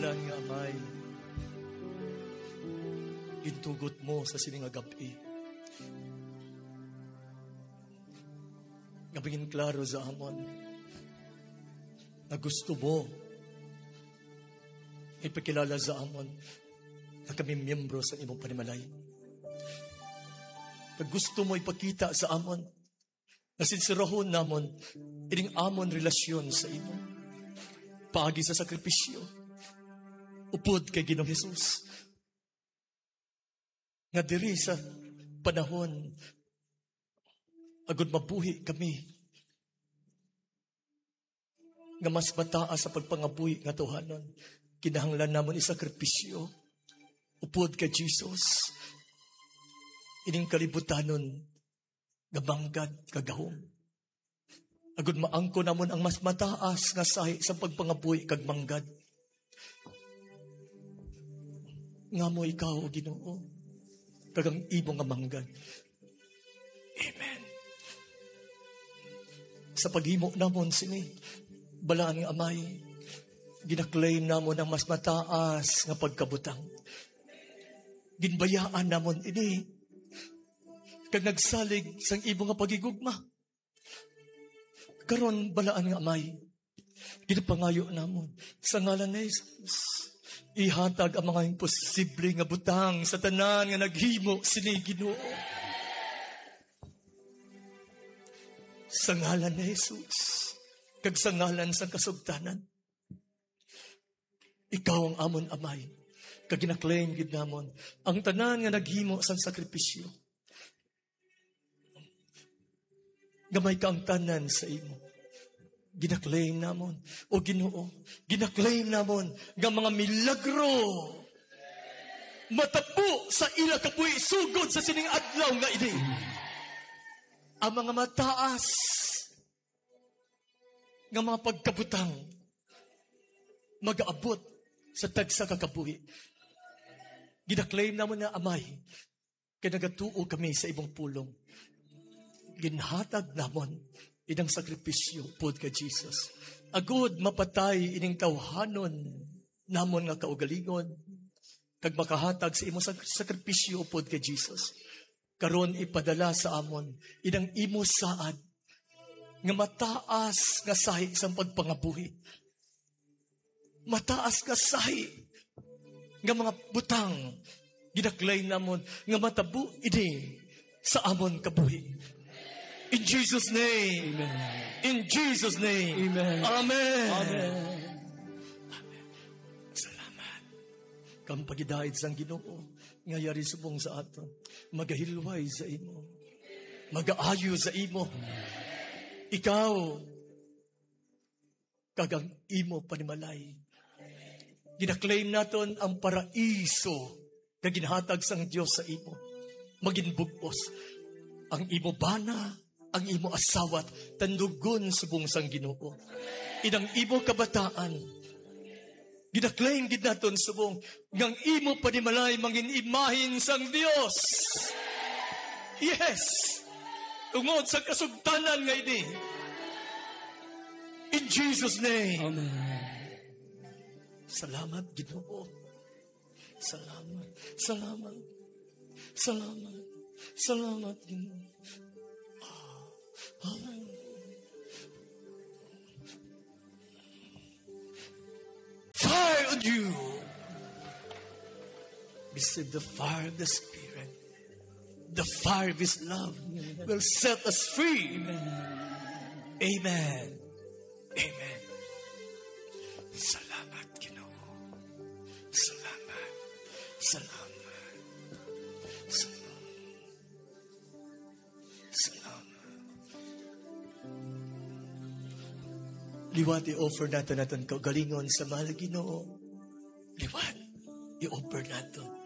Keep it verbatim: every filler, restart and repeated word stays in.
Dan nga Amay, gintugot mo sa sini nga gab-i nga maging klaro sa amon nga gusto mo ipakilala sa amon nga kami miyembro sa imong panimalay. Kag gusto mo ipakita sa amon nga sinsirahon namon ining amon relasyon sa imo paagi sa sakripisyo upod kay Ginoong Jesus, nga diri sa panahon agud mabuhi kami nga mas mataas sa pagpangabuhi nga tuhanon, kinahanglan namon isakripisyo upod kay Jesus ining kalibutanon nga manggad kag gahom, agud maangkon namon ang mas mataas nga sahi sa pagpangabuhi kag manggad. Nga mo ikaw, O Ginoo, kag ang imo nga manggad. Amen. Sa paghimo namon sini, balaan nga Amay, ginaklaim namon ang mas mataas nga pagkabutang. Ginbayaan namon ini kag nagsalig sang imo nga paghigugma. Karon, balaan nga Amay, ginapangayo namon sa ngalan ni Jesus, ihatag ang mga imposible nga butang sa tanan nga naghimo sini, Ginoo. Sa ngalan ni Jesus, kag sa ngalan sang kasugtanan, ikaw ang amon Amay, kag ginaklaim gid namon ang tanan nga naghimo sang sakripisyo nga may kaangtanan sa imo. Ginaklaim namon, O Ginoo, ginaklaim namon nga mga milagro matabo sa ila kabuhi sugod sa sining adlaw nga ini. Ang mga mataas nga mga pagkabutang magaabot sa tagsa ka kabuhi. Ginaklaim namon na, Amay, kay nagatuo kami sa imong pulong. Ginhatag namon inang sakripisyo upod kay Jesus, agud mapatay ining tawhanon namon nga kaugalingon, kag makahatag sa imo sak-, sakripisyo upod kay Jesus. Karon, ipadala sa amon inang imo saad nga mataas nga sahi sang pagpangabuhi. Mataas nga sahi nga mga butang ginaklaim namon nga matabo ini sa amon kabuhi. In Jesus' name. Amen. In Jesus' name. Amen. Amen. Amen. Salamat. Kang pagidait sang Ginoo nga yari subong sa aton, magahilway sa imo, magaayo sa imo. Ikaw kag ang imo panimalay. Ginaklaim naton ang paraiso nga ginhatag sang Dios sa imo. Magin bug-os ang imo bana, ang imo asawa, tandugon subong sang Ginoo. Inang imo kabataan, ginaklaim gid naton subong nga ang imo panimalay mangin imahin sang Dios. Yes. Tungod sa kasugtanan nga ini. In Jesus' name. Amen. Salamat, Ginoo. Salamat. Salamat. Salamat. Salamat, Ginoo. Ah, hallelujah. Fire on you. Receive the fire of the Spirit. The fire of His love will set us free. Amen. Amen. Salamat, Ginoo. Salamat. Salamat. Salamat. Salamat. Liwat i-offer naton aton kaugalingon sa mahal nga Ginoo. Liwat i-offer naton.